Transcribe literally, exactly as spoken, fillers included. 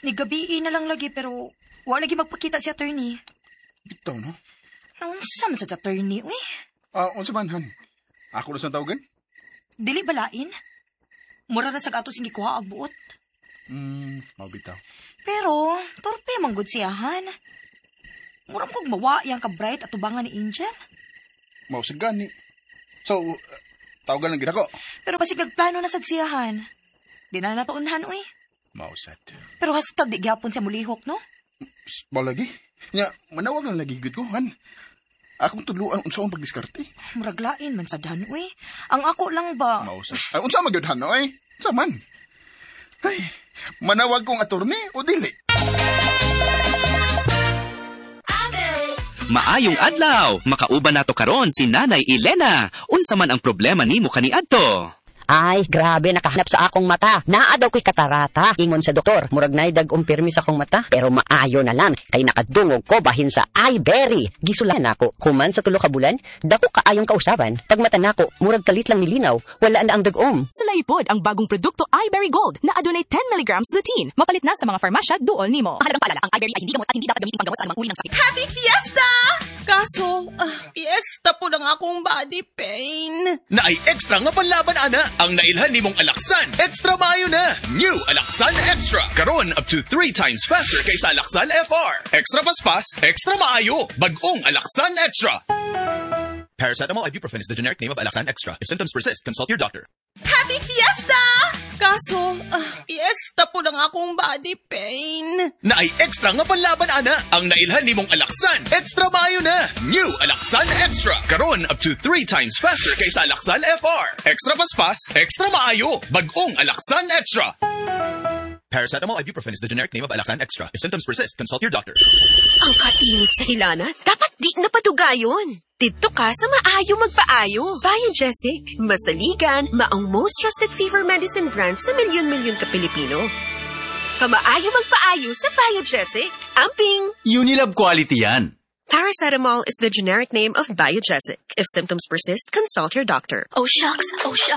Nigabii na lang lagi pero wa lagi magpakita si attorney. Bitaw, no? Naunsa man sa attorney, uy. Ah, unsa man, han? Ako na sa tawagan? Dili balain. Mura ra sa ato sing gikuha ang buot. Hmm, mao bitaw. Pero, torpe man gud siyahan. Mura kog mawa yang ka-bright at tubangan ni Angel. Mao sa gani. So, uh, tawagan lang gid ako. Pero basig nagplano na sad siyahan. Di na natuunhan, uy. Mao sad. Pero hastag di gyapon siya mulihok, no? Mao lagi. Nya, manawag lang lagi gud ko, han. Akong tudluan unsa ang pagdiskarte. Murag lain man sad han, uy. Ang ako lang ba? Mao sad. Ay, unsa man gyud han, oy? Unsa man? Ay, manawag kong attorney o dili? Maayong adlaw, makauban nato karon si Nanay Elena. Unsa man ang problema nimo kaniadto? Ay, grabe nakahanap sa akong mata. Naa daw ko'y katarata. Ingon sa doktor, murag naay dag-ong pirmi sa akong mata. Pero maayo na lang, kay nakadungog ko bahin sa iBerry. Gisulan nako, human sa tulo ka bulan, dako kaayong kausaban. Pag mata nako, murag kalit lang nilinaw. Wala na ang dag-om. Sulayi pod ang bagong produkto iBerry Gold na adunay ten milligrams lutein. Mapalit na sa mga farmasya duol nimo. Mahalagang paalala, ang iBerry ay hindi gamot at hindi dapat gamitin panggamot sa anumang uri ng sakit. Happy Fiesta! Kaso, ah, fiesta po lang akong body pain. Naay extra nga panlaban, ana. Ang nailhan nimong Alaxan, extra maayo na. New Alaxan Extra. Karon up to three times faster kaysa Alaxan F R. Extra paspas, extra maayo. Bag-ong Alaxan Extra. Paracetamol ibuprofen is the generic name of Alaxan Extra. If symptoms persist, consult your doctor. Happy Fiesta! Kaso, ah, fiesta po lang akong body pain. Naay extra nga panlaban, ana. Ang nailhan nimong Alaxan, extra maayo na. New Alaxan Extra. Karon up to three times faster kaysa Alaxan F R. Extra paspas, extra maayo. Bag-ong Alaxan Extra. Paracetamol ibuprofen is the generic name of Alaxan Extra. If symptoms persist, consult your doctor. Ang kainit sa hilanat, dapat di na padugayon. Didto ka sa maayo magpaayo. Biogesic, masaligan, maong most trusted fever medicine brand sa milyon-milyon ka Pilipino. Kamaayo magpaayo sa Biogesic. Amping! Unilab quality yan. Paracetamol is the generic name of Biogesic. If symptoms persist, consult your doctor. Oh, shucks. Oh, shucks.